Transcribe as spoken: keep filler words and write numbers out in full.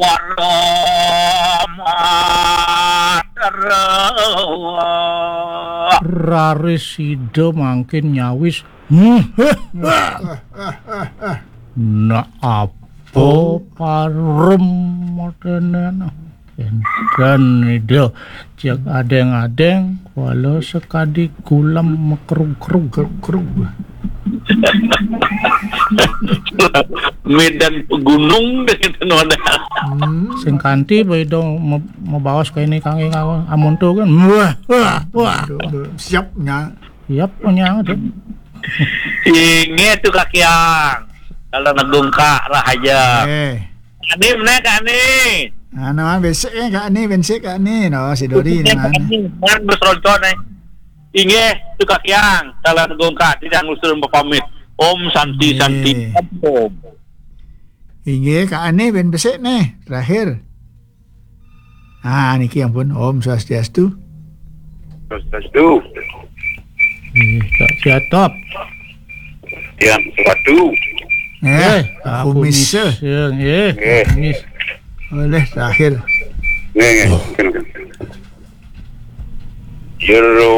Paramaterwa. Raris sida mangkin nyawis. Hmm. Nak apa parem modenen? Enten ida cek adeng-adeng, walau sekadi gulem mekrug-krug. Krug-krug. Medan pegunung dengan noda. Hmm. Sing kanti beda me-, mebaos kene kangge ngawa amun tu kan. Wah, wah, wah. Aduh, aduh. Siapnya. Siap punya tu. Inge tu kakiang. Kalau negung kak rahaja. Eh. Kak Ni, mana Kak Ni? Anu, ah, besek eh, Kak Ni, besek Kak Ni. No, si Dori ni, Kak mana? Ni, man bes roncon eh. Inggih, tu Kak Kiang, salah negung Kak, tidak ngusul pamit. Om Santi, Santi. Inggih. Om. Inggih, Kak Ani ben besik nih, terakhir. Ah, niki ampun, Om Swastiastu. Swastiastu. Inggih, Kak Siatop. Yang sepatu. Eh, eh, Kak Kumis. Kumis, ya, eh, eh. Kumis. Oleh terakhir. Nggih, nggih. Jero